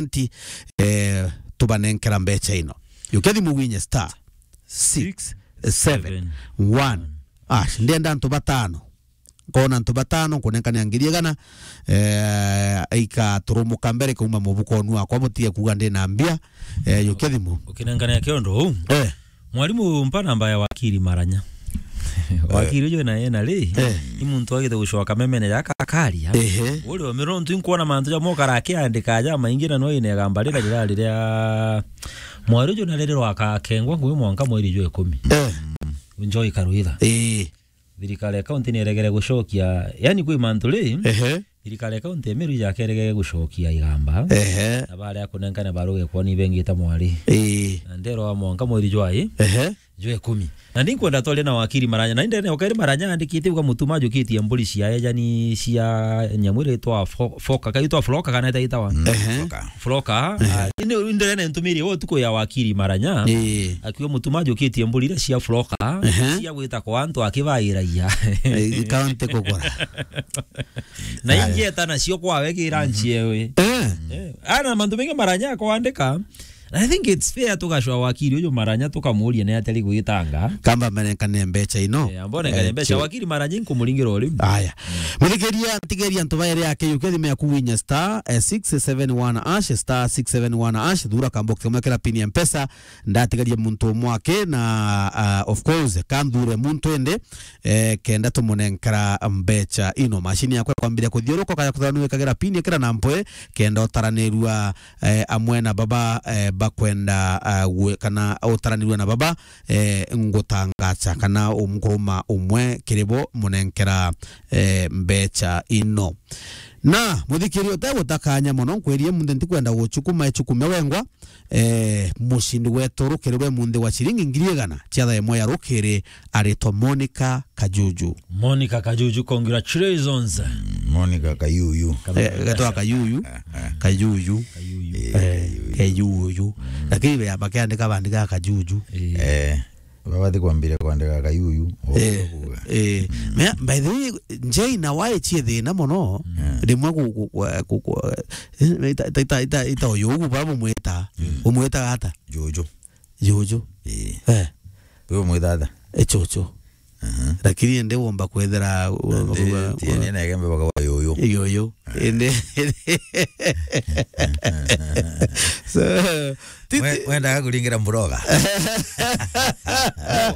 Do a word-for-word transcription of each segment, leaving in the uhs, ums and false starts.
twenty, eh, tubanenkera mbecha ino. Yukia thimu winye star six seven one hash. Ndienda antu batano. Nkona antu batano, nkunenkania ngiri igana, eh, ikaturumuka mbere kuuma mubuko onu wakwa, butige kuuga ndi na mbia, eh, yukia thimu. Ukinenkania kiondo uu. Eh. Mwarimu, mpa namba ya wakiri Maranya. Wakiri uju na yena ri, eh, ni muntu agite gucoka memene jaka akaria. Ehe. Uri o mirontu inkuona mantu jamwe ukara akiandika ja maingi na no ine gamba rira rira riria mwari uju na riri rwakakengwa ngui mwanka mweri jwa ikumi. Eh. Njoi Karwitha. Eh. Thirikari ya kaunti ni iregere gucokia, yani kwi mantu ri, ehe, thirikari ya kaunti ya Meru ijakeregere gucokia igamba. Ehe. Na baria kunenkana baruge kwoni bengita mwari. Ii. Na ndero wa mwanka mweri jwa i. Ehe. Jwa ikumi. Na ndi nkwenda twarie na wakiri Maranya. Na indene okeri Maranya andikite uga mutuma ajukitie mburi cia ejani cia nyamu iria itwa fo-, foka, ka itwa floka kana ita itawa? Mm, ehe. Floka. Floka. Ehe. Ah, indi, indi nene ntumirie we utuku ya wakiri Maranya. Ii. Akiuga mutuma ajukitie mburi iria cia floka, ehe, cia gwita kwa antu akibairagia. Eh, kaunti kugura. Na ingi eta nacio kwawe kira nchi ewe. Eh. Eh, ana mantu mengi Maranya akwandika. I think it's fair tugacwa wakiri uyu Maranya tukamuria ni atari gwitanga. Kamba menenkane mbecha ino. Eh, ambone kane mbecha. Wakiri Maranya nkumuringira uriu. Aya. Muthikiria, tigeria antu baere yake yuke thimu yaku winya star, eh, six seven one hash, star six seven one hash, thura kambox kamwe kira pin ya Mpesa, ndatigaria muntu umwe ake na, ah, of course, kanthure muntu ende, eh, kenda tumunenkera mbecha ino. Mashini yakwa kwambiria kuthiuruka, kaya kuthanua ikagira pin ikira na mpwe, kenda utaranirua, eh, amwe na baba, eh, bakwenda, ah, gwe-, kana utaranirua na baba, eh, ngutangacha, kana umkuruma umwe kiri bo munenkera, eh, mbecha ino. Na muthikiri utegutakanya mono, nkwirie munthe ntikwenda guchukuma ichukumia wengwa, eh, mucindi wetu rukiri rwe munthi wa ciringi ngiri igana cia thaa imwe ya rukiri aritwa Monica Kajuju. Monica Kajuju, congratulations. Mm, Monica Kayuyu. Eh, gatwa Kayuyu. Eh, eh. Kayuyu. Kayuyu. Eh, eh, Kayuyu. Kayuyu. Mm. Lakini be bakiandika bandika Kajuju. Eh. Eh. Babati kwambire kwandika Kayuyu. Eh, kuuga. Eh. Mm. Me, by the way, Njei na wai chie thina mono. Mm. Rimwe ku, ku, ku, ku, ku, eh, ita, ita, ita, ita, ita uyu ugu baba umwita. Mm. Umwita ata? Juju. Juju. Ii. Eh. Uyu umwita ata? E chuchu. Aha. Lakini ende womba kwethira, womba kuga, tiene na igembe baka wa yuyu. Yuyu. Eh. Ende. So, titi- We-, wendaga kuringira mburoga.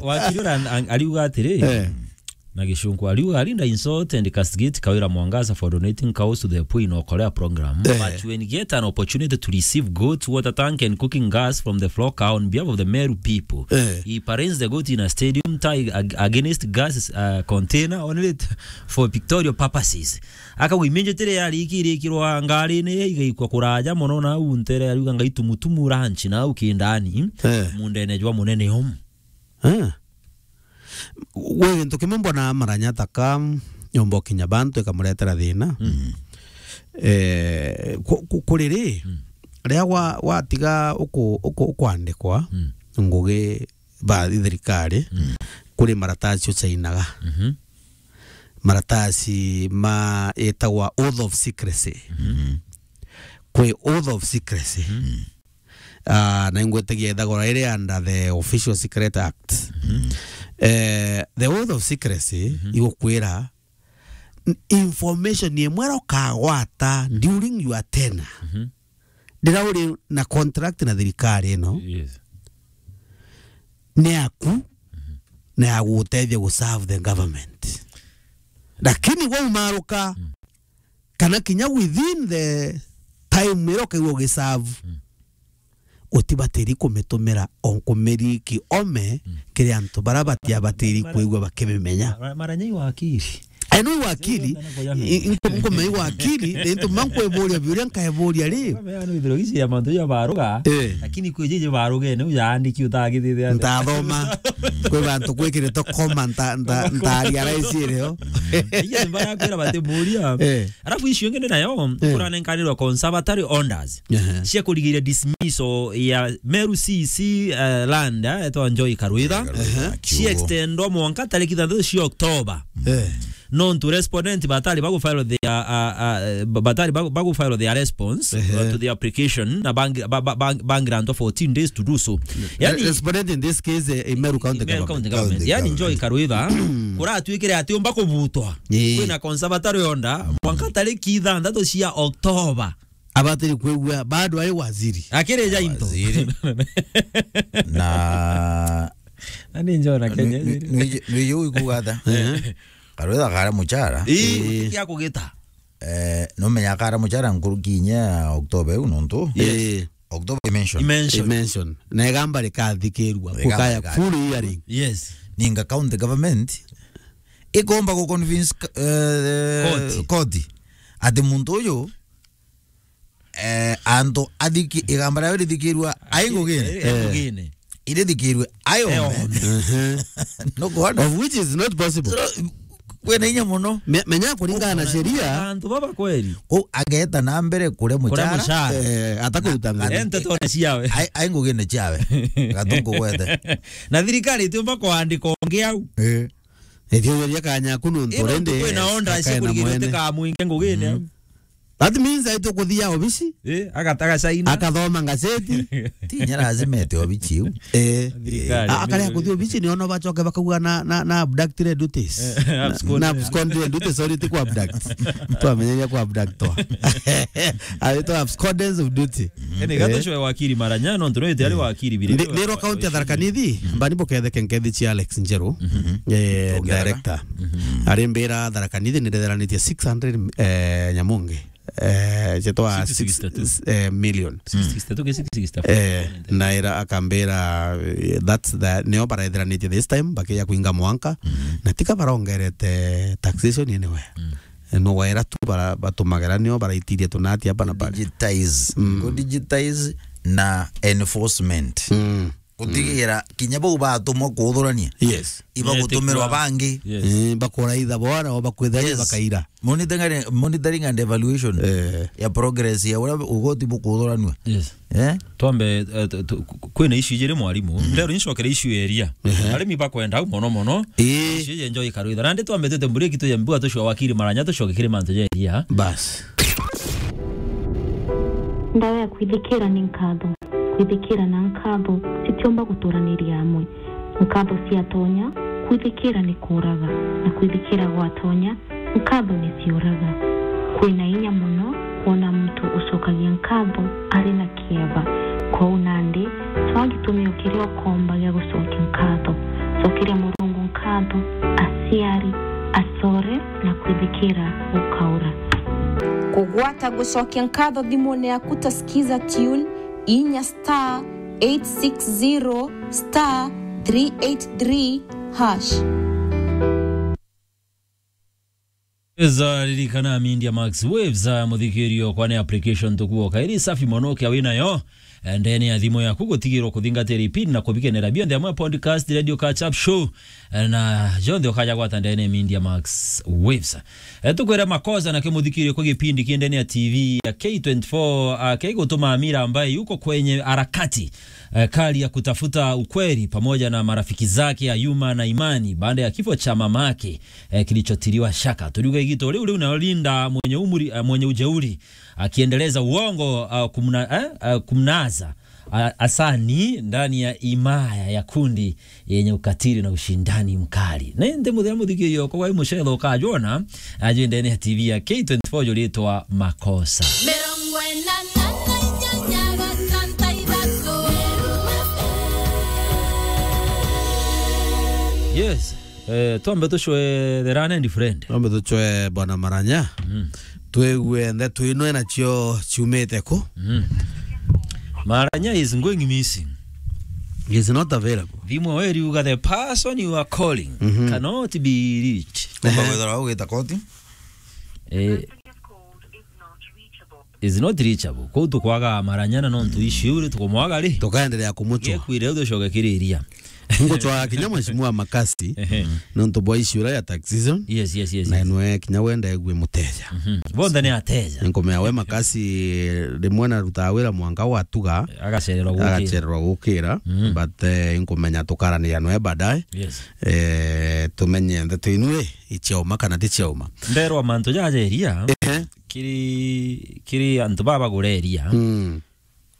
Wakiri ura an-, an-, ariuga atiri, eh, na Gicunku, ariuga, "Alinda insult and castigate Kawira Mwangaza for donating cows to the poor in Okolea program. Eh. But when get an opportunity to receive goats, water tank and cooking gas from the flock on behalf of the Meru people, eh, he parades the goat in a stadium tie ag-, against gas, uh, container only t-, for pictorial purposes." Akauga, "Immediately yari ikirikirwa ngarine igaikwa kuraja mono na au ntere, ariuga, 'Ngaitumutumu ranch na au kindani, eh, mundene jwa munene omu." Eh. Gwi gintu kimwe mbona Maranya taka nyomba ukinya bantu ikamuretera thina. Mm. Eh, ku-, ku-, kuri ri, mm, riria wa-, watiga uku-, uku-, ukwandikwa, mm, ngugi ba thirikari, mm, kuri maratasi uchainaga. Mhm. Maratasi ma itagwa oath of secrecy. Mhm. Kwi oath of secrecy. Mhm. Ah, na ingwetagia ithagora iri under the Official Secret Act. Mhm. Eh, the oath of secrecy, mhm, igukwira n-, information imwe ukagwata, mhm, during your tenure. Mhm. Rira uri na contract na thirikari ino, yes, ni yaku, mhm, na ya gutethia gu serve the government. Lakini waumaruka, mm, kana kinya within the time ira ukaigua ugiserve, mm, utibatiri kumitumira o nkumiri kiome, mm, kiri antu bara batiabatiri kwigua bakimimenya. Mara-, mara-, Maranya i wakiri. Ai, no i wakiri. I-, i-, nku-, nkumenya i wakiri, ni ntu ma nkweburia biuria nkaeburia ri. Mara-, no ithiro ici ya mantu ya baruga, eh, lakini kwi jiji barugene, ujaandiki utagithithia atia? Ntathoma. Kwi bantu gwikirite koma, nta-, nta-, ntaria raisi irio. Iya, mbara kwira batimuria. Eh. Alafu icio ingi ni nayo, eh, kuranenkanirwa conservatory orders, ehe, cia kurigiria dismissal ya Meru C C, eh, land, eh, etwa Njoi Karwitha, Karwitha, ehe, cia extendwa mwanka tariki ithanthatu cia October. Eh. Nontu respondent batari bagu file their, uh, uh, batari bagu, bagu file their response, uh, Ehe. to the application, na bang-, ba-, ba-, bang-, bang grant fourteen days to do so. Yani, respondent in this case, eh, Meru County Meru Government. County Government. County Yani, Joy Government. Karwitha, kuratuikire ati umba kubutwa. Ii. Kwina conservatory order, mwanka tariki ithanthatu cia October. Abatiri kwigua, bado ari waziri. Akiri jainto. Waziri. Na Ani njona Kenya. Nwi-, nwi-, nwi-, nwi-, ikuga ata? Ehe. Karwitha kara muchara. Ii, Ii. Kia kugita. Eh, numenya kara muchara nkuruki inya ya October iu nontu. Yes. Ii. October imension. Imension. Imension. Na igamba rikathikirua. Igamba Kukaya rikathi- full hearing. Yes. Ninga county government ikomba ku convince, eh, Koti. Koti ati muntu uyu eh, antu athiki-, igamba riao rithikirua ai ngugine. Eh, eh, ngugine. Irithikirue ai ome. Eh, ome. Mhm. No kuona? Of which is not possible. So, kwina inya muno. Me-, menya kuringana na sheria. Antu baba kweli. Ku ageta na mbere kure muchara. Kure muchara. Eh, atakuruta mbere. Ente tone ciawe. Ai, ai ngugine ciawe. Gatungu gwete. Na thirikari itiumba kuandika ungi au. Eh. Ithiuria kanya kuno ntu Ino rendi. Kwina onda akae na cikurigirite mwene. Ka mwinge ngugine au. That means aitwe kuthia obici. Eh, agataga caina. Akathoma ngazeti. Ti inya lazima ete obici iu. Eh. Thirikari. A-, akaria kuthia obici ni ono bacoke bakauga na, na, na abducted duties. Eh, absconded. Na, na absconded duties, sorry, ti ku abduct. Twamenyeria ku abduct twa. Aitwa abscondence of duty. Ene gato Eh. Cwe wakiri maranya, no ntuno ite ari wakiri bire. Ndi-, ndirwa county ya Tharaka Nithi, mbani buketheke nkethi cia Alex Njeru. Mhm. Eh, Ongeraga. Director. Mhm. Ari mbira Tharaka Nithi ni ndetheranitie six hundred, eh, nyamunge. Eh, cetwa six sixty-two. Six, eh, million. Six sixty-two ke six sixty-four. Eh, na ira akambira, eh, that's the, nio baretheranitie this time, bakiya kuinga mwanka. Mhm. Na tika barongerete taxation anywhere. Mm. Eh, no waira tu bara-, batumagira nio baraitiria tunati hapa na pale. Digitize. Mm. Go digitize na enforcement. Mm. Gutigira kinya bau batumwa kuthurania. Yes. Ibagutumirwa bangi. Yes. Eh, bakuraitha bona, o bakwithani Yes. bakaira. Monitoring, monitoring and evaluation Eh. ya progress ya uria ugoti bukuthuranua. Yes. Eh? Twambe, eh, tu-, tu-, ku-, kwina issue ijiri mwarimu. Mhm. Ndero nicokere issue ya iria. Ehe. Arimi bakwenda au mono mono. Ii. Issue ya Joy Karwitha. Nandi twambe twite break tu ya mbua tucua wakiri maranya tucoke kiri mantu ja iria. Bas. Ndawa ya kwithikira ni nkatho. Kwithikira na nkatho citiumba guturaniria amwe. Nkatho ciatonya, kwithikira ni kuuraga, na kwithikira gwatonya, nkatho ni ciuraga. Kwina inya mono kwona muntu ucokagia nkatho ari na kieba. Kwou nandi, cwaa gitumio kiria ukomba gia gucokia nkatho. Cokeria Murungu nkatho, aciari, acore, na kwithikira gukaura. Kugwata gucokia nkatho thimune yaku ta Skiza Tune, inya star eight six zero star three eight three hash. Eza ririkana Media Max Waves, ah, muthikirio kwa ni application tukuoka iri safi mono kia winayo, eh, ndene ya thimu yaku gutigirwo kuthingatira ipindi na kubikenera bionthe amwe podcast, radio, catch up show, eh, na jonthe ukaja gwata ndene Media Max Waves. Eh, tukwira makosa na kimuthikirio kwa gipindi ki ndene ya T V ya K twenty-four, ah, kigutuma Amira ambaye yuko kwenye harakati, eh, kali ya kutafuta ukweli pamoja na marafiki zake Ayuma na Imani baada ya kifo cha mamake, eh, kilichotiliwa shaka. Tuliuga igito riu riu nayo Linda mwenye umri, eh, mwenye ujeuri akiendeleza uongo, ah, kumna-, eh, ah, kumnaza, ah, Asani ndani ya himaya ya kundi yenye ukatili na ushindani mkali. Na indi muthia muthikirio kwa wai mucetho ukajona, aje ndene ya T V ya K twenty-four juritwa Makosa. Mirongo ina na inyanya gatanta ithatu. Yes. Eh, twambe tucwe the learned friend. Twambe tucwe Bwana Maranya. Mm. Twigue ndeto ino nacio ciumite ku. Mm. Maranya is going missing. He is not available. Thimu we riuga, "The person you are calling Mhm. cannot be reached." Kumba gwithirwa ugita koti. Eh, is not reachable. Kuu tukwaga Maranya na nontu issue ri tukumwaga ri. Tukaendelea kumutua. Gekwire utucoke kiriria. Ngucwa kinya mheshimiwa Makasi, ehe, nontu bwa issue ira ya tax season. Yes, yes, yes, na yes. Enwe kinya wenda egwe muteja. Mhm. Bonthe ni ateja. Nkumea we Makasi rimwe na ruta wira mwanka watuga. Agacererwa gukira. Agacererwa gukira. Mhm. But, eh, nkumenya tukaraniria nwe baadaye. Yes. Eh, tumenye ndeto inu i, ichiauma kana tichiauma. Nderwa mantu jaja iria. Ehe. Kiri, kiri antu baba gureria. Mm.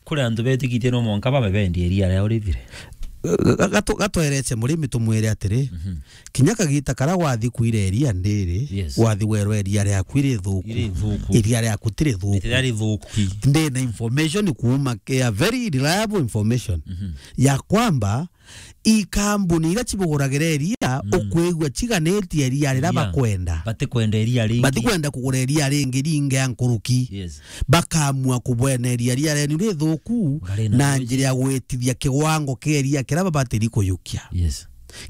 Kuri antu betikitie no mwanka babe bendie iria riao rithire. Ga-, gatu-, gatwereche murimi tumwire atiri, mhm, kinya kagita kara wathi kuira iria ndiri, yes, wathi werwa iria riaku irithuku. Irithuku. Iria riaku tirithuku. Iria rithuku. Ndi na information kuuma, a very reliable information, mhm, ya kwamba i kambuni iria cibuguragira iria, mm, ukwigua ciganitie iria riria, iria bakwenda. Batikwenda iria ringi. Batikwenda kugura iria ringi ringi ya nkuruki. Yes. Bakaamua kubweneria iria rienu rithuku na njira ya gwitithia kiwango kia iria kiria babatiri kuyukia. Yes.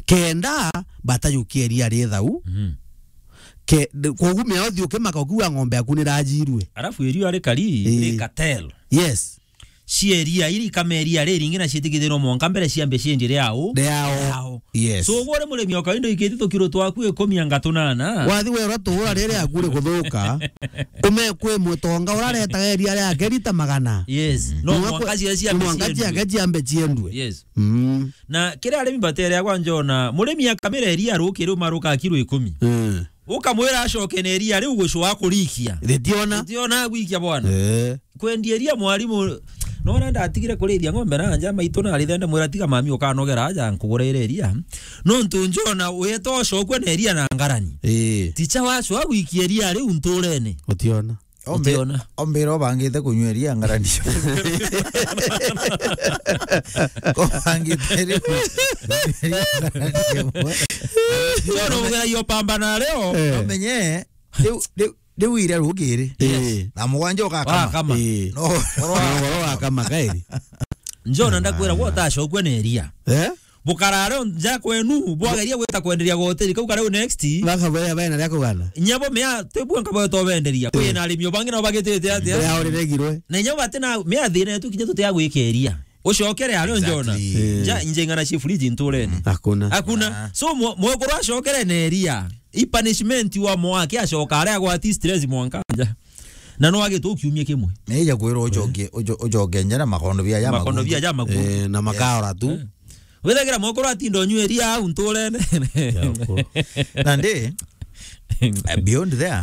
Kenda batayukia iria rithau. Mhm. Ke-, koguo mea uthi ukimaka ukiuga ng'ombe yaku nirajirue. Alafu iria rikari, ii, ri cartel. Yes. Cieria iri ikameria riringi na citikithirwo mwanka mbere ciambe cienje riao. Riao. Riao. Yes. So, ugwe uri murimi o kawaida ikiti tukiro twaku ikumi anga tunana. Wathi werwa tugura riri akuri kuthuka. Ume kwi mutonga uraretaga iria riake rita magana. Yes. No mwanka cia-, ciambe mwanka ciendwe. Ciake ciambe ciendwe. Yes. Mm. Na kiri arimi batere agwa njona, murimi akamira iria ruki riu maruka kiro ikumi. Mm. Ukamwira acoke na iria riu gucwa kurikia. Ritiona. Ritiona gwikia bwana. Eh. Kwendia iria mwarimu, nona ndatigire kurithia ng'ombe na nja, maitu na arithende mwira tiga mami ukanogera aja nkugurire iria. Nontu njona weta ocokwe na iria na ngarani. Eh. Ticha wacwa gwikia iria riu nturene. Utiona. Ombe-, utiona. Ombira obangite kunywa iria ngarani. Obangite riu. Njona ubugera iyo pambana leo. Eh. Omenye, riu, riu, riu iria rukiri. Yes. Eh. Na mugwanja ukakama. Wakama. Eh. No. Oro wakama kairi. Njona ndakwira gwo utacokwe na iria. Eh? Bukarare nja kwenu, bwageria gwita kwenderia goteri kau kariu next. Baka baya baya na ria kugana. Nyabo mea, tebua nkabo tobenderia. Eh. Kwi na arimi bangi nao bagitite atia? Mea uriregirwe. Na nyabo bati na mea thina yetu kinya tutia gwikeria. Ucokere ario njona. Exactly. Eh. Nja, inje ng'ana cia fridge nturene. Hakuna. Hakuna. Ah. So, mwe-, mwekuru acokere na iria. I punishment wa mwake acoka aria agwati stress mwanka nja. Na no agite kiumia kimwe. Neja kwirwo ucoke, uco-, ucoke nja na makondo bia ja makondo makundu. Bia ja makundu. Eh, na makaora tu. Eh. Withagira mwekuru atinda unywa iria au nturene. Yako. Nandi, eh, beyond there,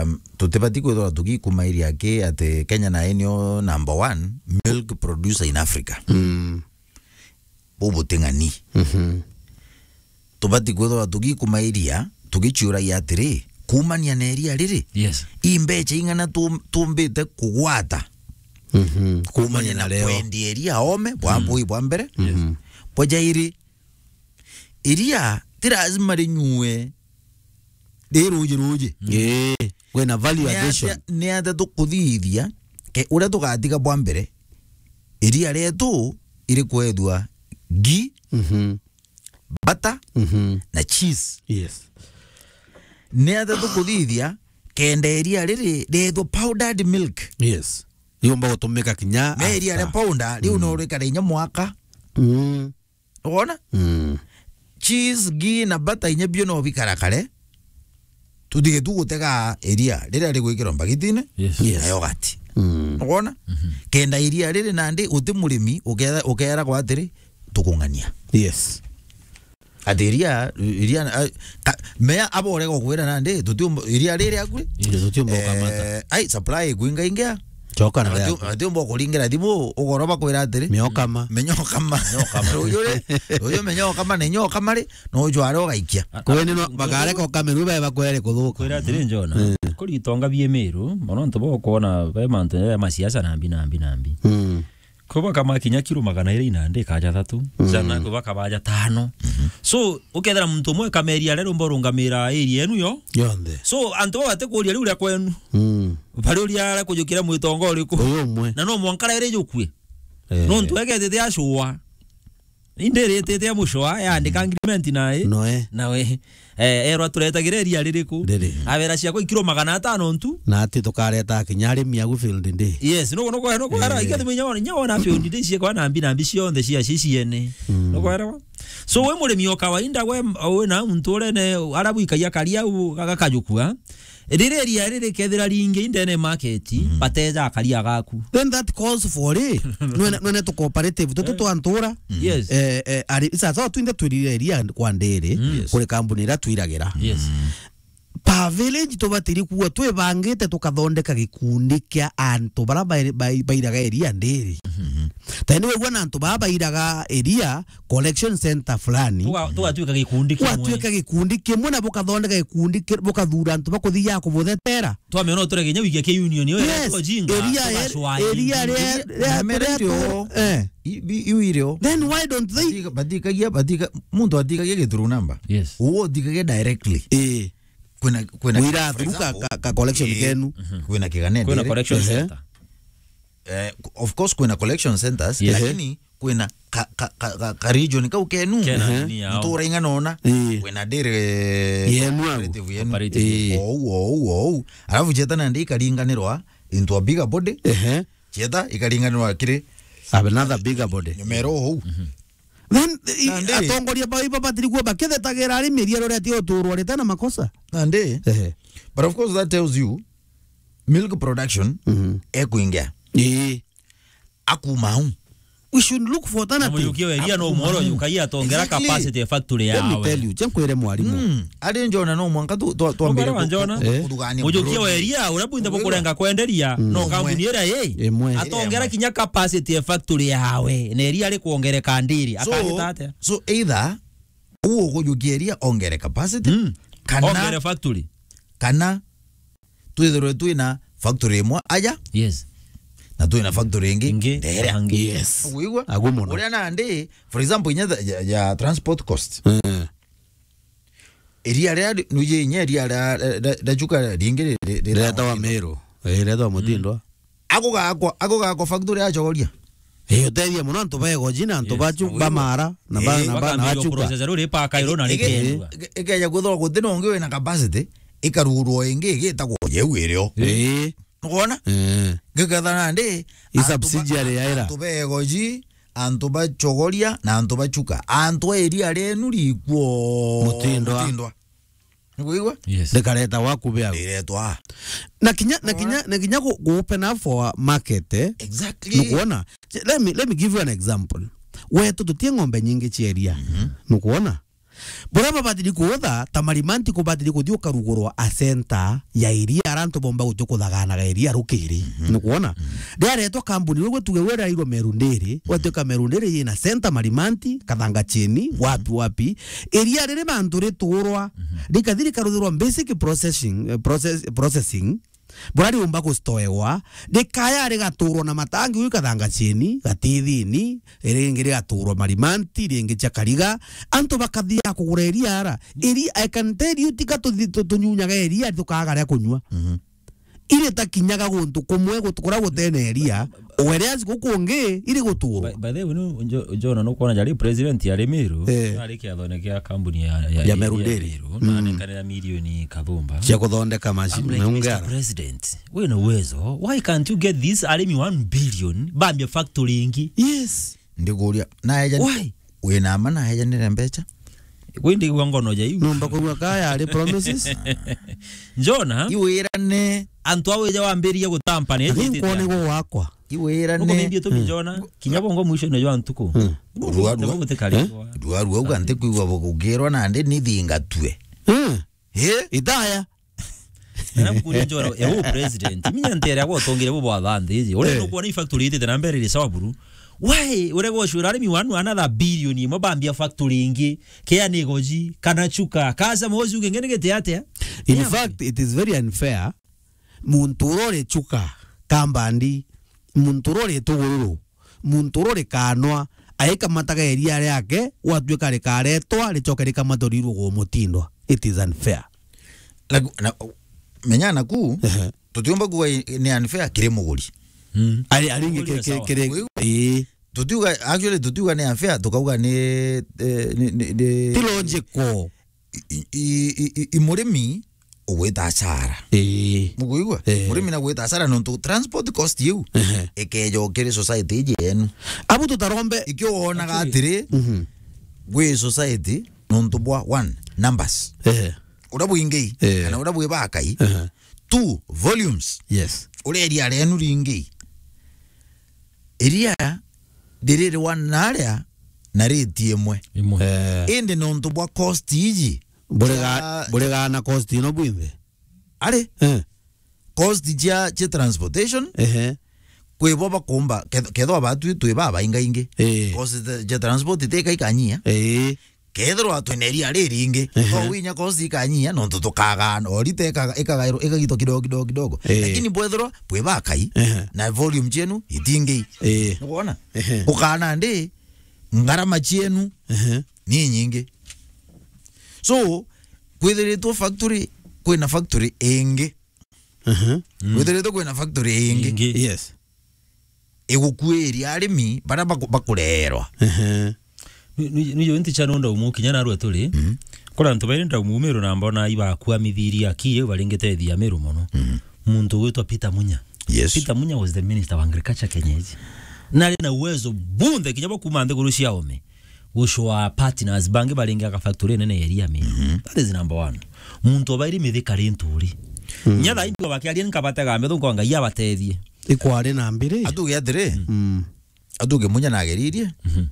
um, tutibati kwithirwa tugikumairia ki ati Kenya na inio number one milk producer in Africa. Mm. Bubuting'ani. Mhm. Tubati kwithirwa tugikumairia, tugichiuragia atiri, kuumania na iria riri, yes, i mbecha ing'ana tu-, tumbite kugwata? Mhm. Kuumania na na reo. Kwendia iria ome, bwa, mm, bui bwa mbere. Mhm. Bwa jairi, iria ti lazima rinyue ri ruji ruji. Mm. Ii, kwina value addition. Ni atia, ni atia tukuthithia ke uria tugatiga bwa mbere iria rietu iri kwethua ghee, mhm, butter, mhm, na cheese. Yes. Ni atia tukuthithia kenda iria riri riethwa powdered milk? Yes. Riumba gutumika kinya me iria ria after powder, riu, mm, no rikare inya mwaka. Mm. Wona? Mm. Cheese, ghee na butter inya bio no bikara kare. Tutige tu gutega iria riria rigwikirwa mbagitine, yes, yes, na yogati. Mm. Wona? Mhm. Kenda iria riri nandi uti murimi ukera, ukera kwa atiri, tukung'ania. Yes. Ati iria, iria, a, ta, mea abo urega kwira nandi, tutiumba, iria riri akuri? Yes. Tutiumba gukamata. Eh, ai, supply ikwinga ingia. Coka na ati, riaku. Ati umba kuringira thimu, ugoro bakwira atiri, miokama. Minyokama. Minyokama. Ruyu ri, ruyu minyokama na inyokama ri, no ujware ugaikia. Kweni no, bakareka ukame ruyu bae bakwere kuthuka. Kwira atiri, njona. Mm. Kuri itonga bie Meru, mono ntu bo kuona be mantu ya masiasa na mbi, na mbi, na mbi. Mm. Kwi bakama kinya kiro magana iri inandi kaja thatu. Mm. Jana kwi bakabaja tano. Mhm. So, ukethira muntu umwe kameria aria rumba urungamira area enu yo. Yonthe. So, antu baba batikuria riu ria kwenu. Mm. Bari uria aria kujukira mwitonga uriku. Uyu umwe. Na no mwanka riri jukue. Eh. Nontu egetete acua. Indi ritite ya mucwa, yaandika agreement nae. Noe. Nawe. Eh, erwa turetagire iria ririku? Riri. Abera ciakwa ikiro magana atano ntu. Na ati tukareta kinya arimi agu field day. Yes, no, no, no, no, Eh. Inya wona, inya wona field day ciekwa na mbi, na mbi cionthe cia, ci ciene. Mm. No kwera? So, we murimi o kawaida, we, we na muntu urene, ara bwikagia karia u, gakajukua. Riri iria riri kethira ringi indene market, Mm. bateja akaria gaku. Then that calls for it. Nwene, nwene tu cooperative, tutu Eh. twa ntura. Yes. Eh, eh, ari, sasa twinde twirire iria kwa ndiri, Mm. Yes. kuri kambuni ira twiragira. Yes. Per village tubatiri kuwa twibangite tukathondeka gikundi kia antu bara bai-, bai-, bairaga iria ndiri. Mhm. Tani wigua na antu baa bairaga iria collection center fulani. Tuga-, tugatuika gikundi kimwe. Gwatuika gikundi kimwe na bukathondeka gikundi ki-, bukathura antu bakuthiaga kubuthetera. Twamenya no turege inya wikia ki union yo. Yes, ejinga, iria ria, tugacwa iria iria. Ria, ria, Nyamere ria ndio. Eh. I-, i-, iu irio. Then why don't they? Batika-, batikagia, batika-, muntu atikagia githuru namba. Yes. Uwo utikagia directly. Eh. Kwina, kwina, Wira for through ka, example, ka, ka collection eh, kenu. Mhm. Kwina kigane Kwina ndiri. Collection Ehe. Center. Eh, of course, kwina collection centers, Yes. lakini kwina ka, ka, ka, ka, ka region kau kenu. Kena Ehe. nini yao. Ntura ing'ana ona. Eh. Kwina ndiri Yenu au. Cooperative yenu. Cooperative. Eh. Ou, ou, ou. Alafu cieta nandi ikaringanirwa into a bigger body. Ehe. Cieta ikaringanirwa kiri Have another bigger body. Nyomero ou. Mhm. Then, i-, Nandi. atongoria bau ibabatiri kuwa bakithetagira arimi iria ruria ti uturwa rite na makosa. Nandi. Ehe. But of course that tells you milk production Mhm. ekuingia. Ii. Akuma au. We should look for Na alternatives. Mujukia wa iria no Akuma mworo au. Yukaia atongera Exactly. capacity ya factory Let me yawe. tell you, cia nkwire mwarimu. Mm. Ari njona no mwanka tu, tu, twambire Ukora wa ku-, njona? ku-, Eh. kuthugania Mujukia wa mburudi. iria, uria bwinthe Wigua? bukurenga kwenderia, Mm. no Umwe. kambuni iria i. Imwe. Atongera Imwe. kinya capacity ya factory yawe, na iria rikwongereka ndiri, So, akagita atia? so either uo kujukia iria ongere capacity, Mm. kana Ongere factory. kana twithirwe twina factory imwe aja, Yes. na twina factory ingi Ingi, ndere. Angi. Yes. Wigua? Agu muno. Uria nandi, for example, inya ya, ya, ya transport cost. Eh. Iria ria, nuje inya iria ria, ria, ria, ria chuka ringi ri-, ri-, ri-, Riretawa Miru. Eh, riretawa Mutindwa. Agugakwa, agugakwa factory ya Chogoria. Eh, utethia muno antu ba Egoji na antu Yes. ba chu-, Wigua? ba Mara, na ba, Eh. na ba, na Bakambiriria Chuka. Process ruri paka iro na Ige-, rikendwa. ige-, ikeja kwithirwa guti na ungi wina capacity, ikarugurwa ingi igitagwo yeu irio. Eh. Nukwona? Eh. Ngiketha nandi, I antu ba-, subsidiary ya ira. antu ba Egoji, antu ba Chogoria, na antu ba Chuka. Antu a iria rienu rikwo Mutindwa. Mutindwa. Nikuigua? Yes. Rikareta waku be au. Riretwa. Na kinya, na kinya, na kinya gu-, gu open up for market, eh? Exactly. Nukwona? Let me, let me give you an example. Wetu tutie ng'ombe nyingi cia iria. Mhm. Nukwona? Buria babatiri kuutha, ta Marimanti kubatiri kuthi ukarugurwa a center ya iria, ara antu bomba guti kuthaganaga iria rukiri. Mhm. Nukwona? Mhm. Riaretwa kambuni, we tuge we rairwo Meru Ndiri, Mhm. watuika Meru Ndiri yina center Marimanti, Kathanga Chini, Mhm. wapi, wapi. Iria riri bantu riturwa, Mhm. rikathi rikaruthirwa basic processing, eh, process, processing, buria riumba gustoegwa, rikaya rigaturwa na matangi, uyu Kathanga Chini, Gatithini, ringi rigaturwa Marimanti, ringi cia Kariga, antu bakathiaga kugura iria ara. Iri, I can tell you, tika tuthi-, tu-, tunyunyaga iria, tukaaga ria kunyua. Mhm. Iri takinyaga guntu kumwe gutu-, kuria gutene iria, whereas guku kungi iri guturwa. By, by the way, nu, njo-, njona nukwona jari president ya Rimiru, Eh. ari kiathone kia kambuni ya, ya, Ya ya Meru Dairy. Meru, na Mm. anekanira milioni kathumba. Cia kuthondeka maci-, I'm like, maungara. Mister President, wina uwezo, why can't you get this arimi one billion, bambia factory ingi? Yes. Ndikuria, na eja Why? Wina ma na ejanire mbecha? Kwi ndigua ngono ja iu. Numba kugua kaya ari promises. Njona, Iwirane. Antu au ija wambirie gutampa ni Lakini nkwone go wakwa. Iwirane. Nuko maybe tu Mm. Njona, kinya bongo mwisho no jwa ntuku. Mm. Urua, urua. Ntuku gutikari. Eh? Urua, urua, uga ntikwigua bugukirwa na ndi nithingatue. Mm. Eh? Itaya. Na mkuria Njona, eh, u president, minya ntere agwa utongire bo bwa thanthi iji. Ure Eh. nukwona i factory itite na mbere iri sawa buru. Why? Ure go shura arimi wanu another billion imwe bambia factory ingi. Kea ni goji, kana chuka, kasa mozi uge ngene gete atia? In Yeah. fact, it is very unfair. Muntu uria uri chuka, kambandi, muntu uria uri tugururu, muntu uria uri kanwa, aikamataga iria riake, gwatuika rikaretwa, ricoke rikamatwa rirugwo Mutindwa. It is unfair. Na, na, menya naku, Ehe. tutiumba kuga i-, ni unfair kiri muguri. Mm. Ari, ari ingi Muguri kiri, sawa. kiri, Wiu? ii. Tutiuga, actually, tutiuga ni unfair, tukauga ni, eh, ni, ni, ni Ti logical. I, i, i, i, i murimi ugwita hasara. Ii. Mukuigua? Eh. Murimi na gwita hasara nontu transport cost iu Ehe. ikeja ukiri society iji yenu. Abu tutarombe. Ikio wonaga Actually atiri, mhm. gwi society nontu bwa one, numbers. Ehe. Uria bwingi, Eh. kana uria bwi bakai. Ehe. Two, volumes. Yes. Uria iria rienu ringi. Iria ndirirwa naria na rate imwe. Imwe. Eh. Indi nontu bwa cost iji. Buriga-, cia buriga na cost ino bwinthe? Ari? Eh. Cost cia, cia transportation. Ehe. Kwi bo bakumba, keth-, kethwa batwi twi babaingaingi. Eh. Cost cia transport itiika ikanyia. Eh. Kethirwa twina iria riringi, Ehe. to winya cost ikanyia, nontu tukagaa, o rita ikaga-, ikagairwo, ikagitwa kidogo, kidogo, kidogo. Eh. Lakini bwethirwa bwi bakai, Ehe. na volume cienu itingi. Eh. Nukwona? Ehe. Ukana ndi, ngarama cienu Ehe. ni nyingi. So, kwithiritwe factory, kwina factory ingi. Ehe. Mm. Kwithiritwe kwina factory ingi. Ingi. Yes. Igukuiria arimi baria baku-, bakurerwa. Ehe. Ni, ni, ni yo nti cha nonda umu kinya narua turi. Mhm. Kura antu bairi ndaumu Meru na mbona ibakuamithiria ki, baringitethia Meru mono. Mhm. Muntu ugwitwa Peter Munya. Yes. Peter Munya was the minister wa agriculture Kenya iji. Na ari na uwezo bunthe kinya bwa kuma nthiguru cia ome. Gucwa partners bangi baringi aka factory nene ya iria mi. Mhm. That is number one. Muntu obairi mithika ri nturi. Mm. Nya thaa ingi bakiaria nkabatega metho kwa Ngai abatethie. Ikwari na mbiri. Atuge atiri. Mm. Atuge Munya nageririe. Mhm.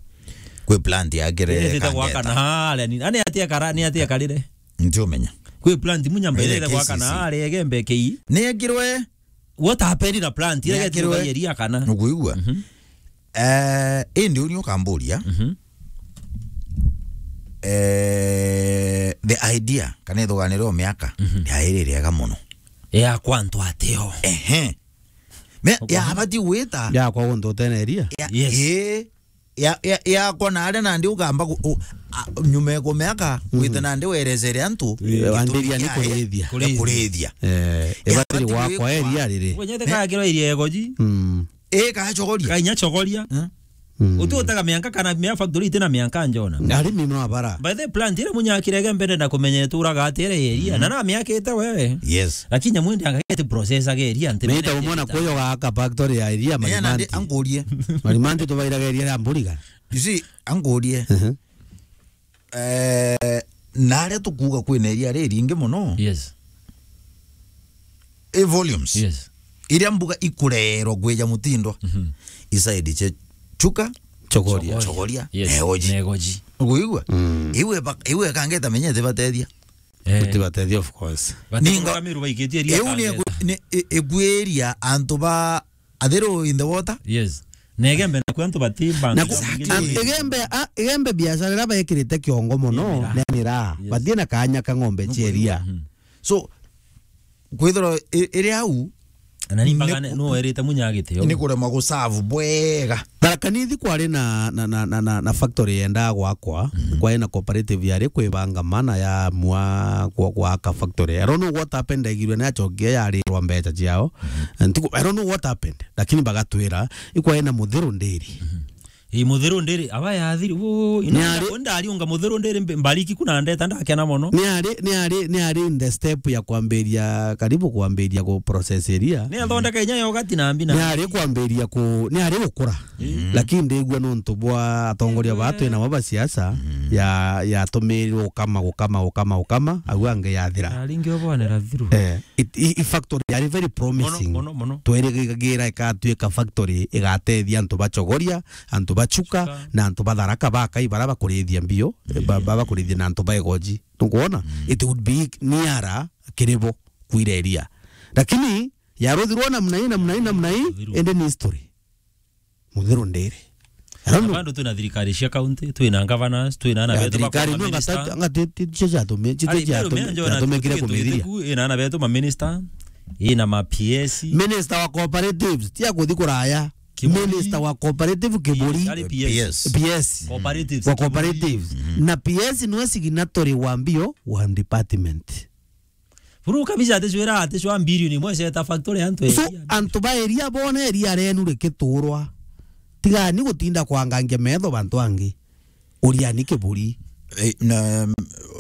Kwi plant yakire Iri thita gwaka na kangeta. Haria ni. Ani atia kara, ni atia karire. Ntiumenya. Kwi plant Munya mbere Ire gwaka na K C C. Haria Igembe kei. Ni ekirwe. What happened na plant? Ni Ire ekirwe. Geti iria kana. Nukuigua? Mhm. Eh, indi uni ukamburia. Mhm. Eh, the idea, kana ithuganiro miaka, Mhm. yairi riega muno. Ya kwa antu atio. Ehe. Me, Ukwona? Ya abati gwita. Ya kwa guntu utene iria? Ya, Yes. Ii. Ya, ya, ya kwa na aria nandi ugamba ku-, u-, a, nyuma ya kumeaka, Mhm. Gwite nandi werecere antu, Eh, gitumi wambiria ni kia kurithia. Kurithia. Kurithia. Eh, Ya, ibatiri abati gwakwa gwikwa. Iria riri. Wenyete kaya kiro iria egoji. Mm. Ii, kachogoria. Kainya chogoria. Eh? Mm. Uti utega mianka kana mia factory itina mianka njona. Arimi no abara. By the plant ira munyakire Igembe na kumenya ituraga atire iria. Mm. Na na miakite wewe. Yes. Lakini nyamu indi angagete process age iria nti Mita mene umona ita. Kuyo gaka factory ya iria. Ii, na ndi Marimanti. Ankurie. Marimanti tubairaga iria ria mburiga. You see, ankurie. Mhm. Eh, na aria tukuuga kwina iria riringi muno. Yes. I volumes. Yes. Iria mbuga ikurerwa kwija mutindwa. Mhm. Isaidi cia Chuka. Chogoria. Chogoria. Chogoria. Yes. Negoji. Negoji. Uguigua? Mm. Iwe ba-, iwe kangeta menyete batethia. Eh. Utibatethia, of course. Ninga Batethia Kamiru baikitie iria iu ni kangeta. Eku-, ni e-, ekwiria antu ba Athiru in the water? Yes. Na Igembe naku antu batibanga Na ku-, Exactly. An-, Igembe, a, Igembe biashara iria baikirite kiongo muno, Ni miraa. Ni miraa. Yes. Batie na kanya ka ng'ombe cia iria. Mhm. So, kwithirwa i-, iri au, Na ni ni mpaka ku-, ne-, no erite Munya agitio. Ni kurema guserve bwega. Tharaka Nithi kwari na, na, na, na, na, na factory yendaa gwakwa, Mhm. kwari na cooperative yari kwibanga mana ya mwa kwa, gwaka factory. I don't know what happened, ndaigirwe ni acokie yarirwa mbeca ciao. Mhm. And tiku-, I don't know what happened, lakini bagatwira, ikwari na Muthiru Ndiri. Mhm. Ii, Muthiru Ndiri, aba yathiri, uu, ina Ni ari- nda-, ndariunga Muthiru Ndiri mb-, mbariki kuna ndeta ndakena mono. Ni ari, ni ari, ni ari in the step ya kwambiria, karibu kwambiria ku process iria. Ni athondeka inya yogati na mbi na Ni ari kwambiria ku, ni ari gukura. Mhm. Lakini ndigua nontu bwa atongoria Ewe. Baa twi nabo ba siasa, Mhm. ya, yatumirirwe gukama, gukama, gukama, gukama, au angi yathira. Aringi obonera thiru. Eh, it, i, i factory yari very promising. Mono, mono, mono. Twerigagira ikatuika factory igatethia antu ba Chogoria, antu ba Chuka, Chuka. Na antu ba Tharaka Bakai bara bakurithia mbio, Mhm. ba, ba, bakurithia na antu ba Igoji. Nukwona? Mhm. It would be nearer kiri bo kwira iria. Lakini yaruthirwo namna hii, namna hii, namna hii, Yaruthirwo. Indi ni history. Muthiru Ndiri. I don't Na know. Bado twina thirikari cia county, twina governors, twina ana Ya, betu thirikari bakwa no minister. Ngata-, ngati-, ti-, ti-, cia tume-, ti-, Ari, ti-, cia Meru tume-, mea njona cia tume-, kire tuku kumithiria. Ituku, ina ana betu ma minister, ina ma P S. Minister wa cooperatives, tia kuthi kuraya. Kiburi. Minister wa cooperative Kiburi. Ari P S. P S. Cooperatives, Wa Kiburi. Cooperatives. Mhm. Na P S niwe signatory wa mbio wa department. Buru kabisa aticwira aticwa mbilioni imwe ceta factory antu So, eria. Antu ba eria bone eria renu rikiturwa. Tigani gutinda kwangangia metho bantu angi. Uriani kiburi. Eh, na,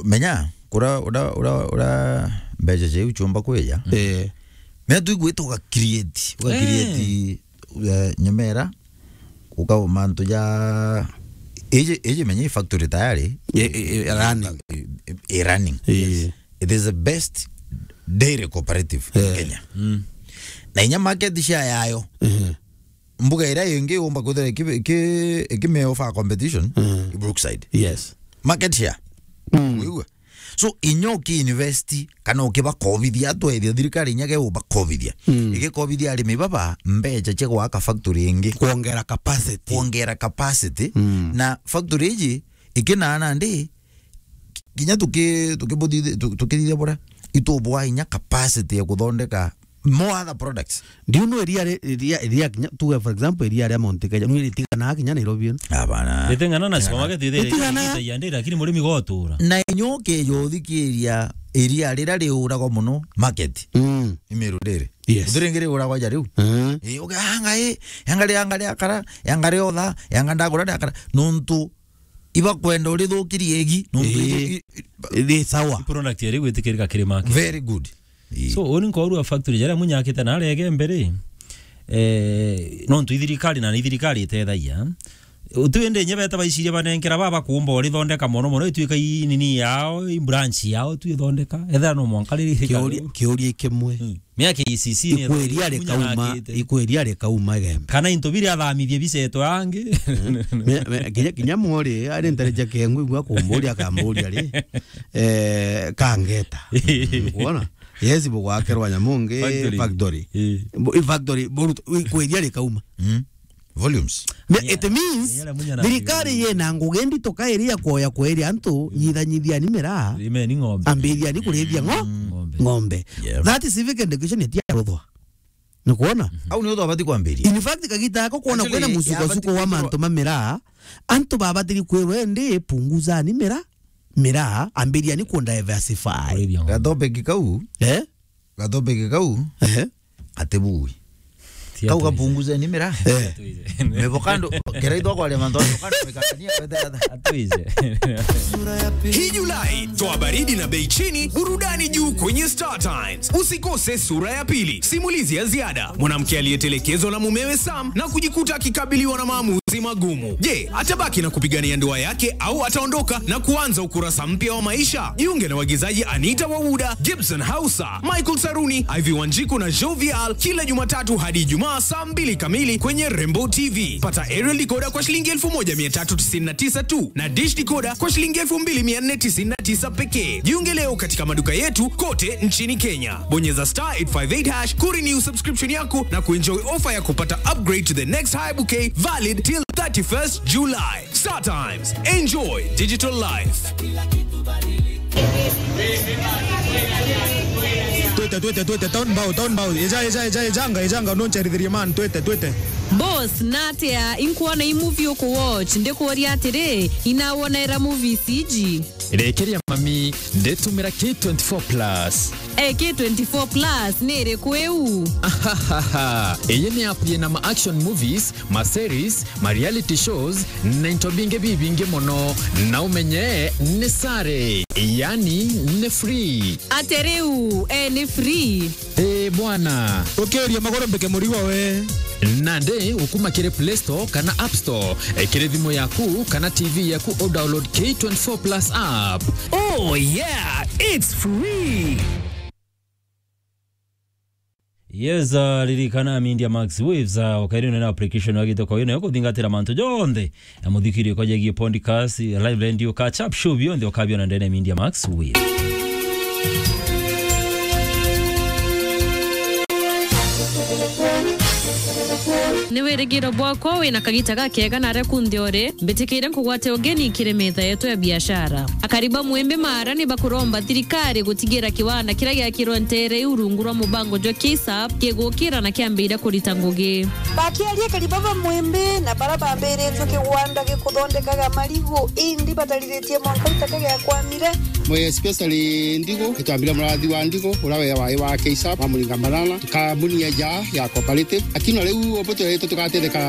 menya, kura, ura, ura, ura mbeca ciu ciumba kwija. Eh. Menya tu igwita uga create, uga Eh. create, eh, nyamera, ukauma ntu ja, iji, iji menya i factory tayari. I, i, i running. I, i running. Eh. Yes. It is the best dairy cooperative in Eh. Kenya. Mm. Na inya market share yayo. Mhm. Mbuga iria ingi umba kwithira iki-, iki-, ikimeo for competition, Mm. i Brookside. Yes. Market share. Mm. Wigua? So, inya uki invest, kana ukiba kovithia, twethia thirikari inya ge uba kovithia. Mm. Igikovithia arimi baba mbeca cia gwaka factory ingi. Kuongera capacity. Kuongera capacity. Mm. Na factory iji, ikinaana ndi, kinya tuki-, tukibuthi-, tu-, tukithithia buria, itubwa inya capacity ya kuthondeka more other products. Do you know iria ri-, iria, iria kinya, tuge for example, iria ria Mount Kenya, nwi ritiganaga kinya Nairobi ino? Hapana. Ritingana na supermarket ithire Ritigana. Itagia ndi, lakini murimi gotura. Na inya ukeja uthikiria iria riria riuragwa muno market. Mm. I Meru Dairy. Yes. Uthire ngiri uragwa ja riu. Mm. Eh, uge, "Anga i, anga ri, anga ri akara, anga ri otha, anga ndagura ri akara." Nontu ibakwenda urithukirie egi, nontu Ii. I, i, i, Ri sawa. Product iri gwitikirika kiri market. Very good. Ii. So, uni nkorua factory jaria munyakite na arege mbere, eh, nontu ithirikari na ithirikari itethagia. Utu indi nye beta baiciria banenkera baba kuumba urithondeka mono mono, ituika i nini yao, i branch yao, tu ithondeka. Ethera no mwanka riri Kiuria, kiuria kimwe. Mm. Mia K C C ni Ikweria munya rikauma, nakite. Ikweria rikauma Igembe. Kana into biri athamithie biceto yangi. Me-, me-, kinya, kinya mwori, ari ntareja kengu igua kumburia akamburia ri. Eh, kangeta. Kuona? Yes, bugwakerwa nyamungi Factory. Factory. Eh. Bu-, i factory, burut-, ikweria rikauma. Mm. Volumes. Me-, Yeah. It means, Yeah, munya na thirikari yena ngugi ndito kairi ya kuoya kweria antu, nyithanyithiani miraa, Rimeni ng'ombe. Ambiriani kurithia ngo-, Mm. Ng'ombe. Ng'ombe. Yeah. That civic education itiaruthwa. Ni kuona? Au ni utho abati kwambiria. In fact, kagita ako kuona Actually, kwena musuko yabati suko wa kwithirwa mantu ma miraa, antu babatiri kwirwa ndi punguzani miraa, miraa, ambiriani ku diversify. Kurithia ng'ombe. Gatopic kau. Eh? Gatopic kau. Eh? Ati bui. Ti Kau atuize. Gapunguzeni miraa. Eh. Atuize. Mevokando, keraitho kwa mantu mevokando mekania kwetera. Atuize. Hii Julai, toa baridi na bei chini, burudani juu kwenye Star Times. Usikose Sura ya Pili, simulizi ya ziada. Mwanamke aliyetelekezwa na mumewe Sam na kujikuta akikabiliwa na maamuzi magumu. Je, atabaki na kupigania ndoa yake au ataondoka na kuanza ukurasa mpya wa maisha? Jiunge na waigizaji Anita Wawuda, Gibson Hausa, Michael Saruni, Ivy Wanjiku na Jovial kila Jumatatu hadi Ijumaa saa mbili kamili kwenye Rembo T V. Pata aerial decoder kwa shilingi elfu moja mia tatu tisini na tisa tu na dish decoder kwa shilingi elfu mbili mia nne tisini na tisa pekee. Jiunge leo katika maduka yetu kote nchini Kenya. Bonyeza star eight five eight hash kurenew subscription yako na kuenjoy offer ya kupata upgrade to the next high bouquet valid till thirty-first July. Star Times. Enjoy digital life. Twete, twete, twete, town bow, town bow. Eja, eja, eja, ejanga, ejanga, no ncherithirie man, twete, twete. Boss, natia, inkuona i movie uku watch, ndikuuria atiri, inawonera movies iji? Rekeria mami, nditumira K twenty-four plus. Eh, K twenty-four plus ni iriku iu? Ahahaha. Iyi ni app yina ma action movies, ma series, ma reality shows, na into bingi bibingi mono. Na umenye ni sare, yani ni free. Ate riu, eh, ni free? Eh, bwana. Ukiuria magoro mbike murigo we. Nandi ukuma kiri Play Store kana App Store, eh, kiri thimu yaku kana T V yaku, u download K twenty-four plus app. Oh yeah, it's free. Yes, uh, ririkana Media Max Waves, uh, ukairi na application wa gitoko ino ya kuthingatira mantu jonthe. Na muthikirio kwa jegie podcast, live radio, catch up show bionthe ukabiona ndene Media Max Waves. Ni wirigiro bwakwa wina kagita gakega na aria kunthe uri, mbitikiire nkugwate ugeni kiri metha yetu ya biashara. Akari ba Mwimbi Maara ni bakuromba thirikari gutigira kiwanda kiria giakirwe ntere iu rungu rwa mubango jwa KSAP gigukira na kiambiriria kurita ngugi. Bakiaria akari ba Mwimbi na baria bambiritie kigwanda gikuthondekaga marigu, indi batariritie mwanka itaka giakwamire, Mwe especially Ndigo, itwambire murathi wa Ndigo, ura we wa, wa Keisa, wa Muringa Banana, tukamunia ja ya cooperative. Lakini riu obo turetwe tugatetheka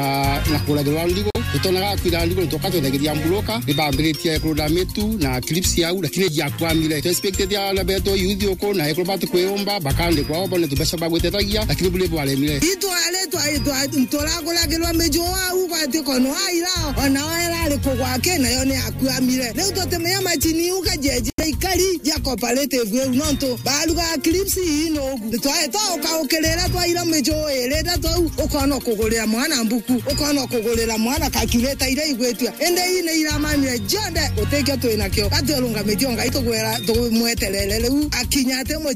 na kuragirwa Ndigo, tutonaga kwira Ndigo, tukatwethagiria mburoka, nibambiritie kurunda mitu na clips yau, lakini jiakwamire. Tu expected ya na beto youth uko, na ekuru batu kwiumba, bakandikwa o bone tubeca bagwitetagia, lakini buri bwaremire. Itware twa-, twa-, turaguragirwa miju au gwati kono aira, ona oera ari kugwake, nayo ni akuamire. Riu tutimenya macini iu kajeji ikari ja cooperative iu, nontu barugaga clips ii nugu. Nitwae twa ukaukirira twaira miju iri, na twau ukona kugurira mwana mbuku, ukona kugurira mwana calculator iria igwitua. Indi ii ni iramamire jonthe utikio twinakio. Gatwirungamitie o Ngai tugwira, tumweterere riu akinya ati mucere.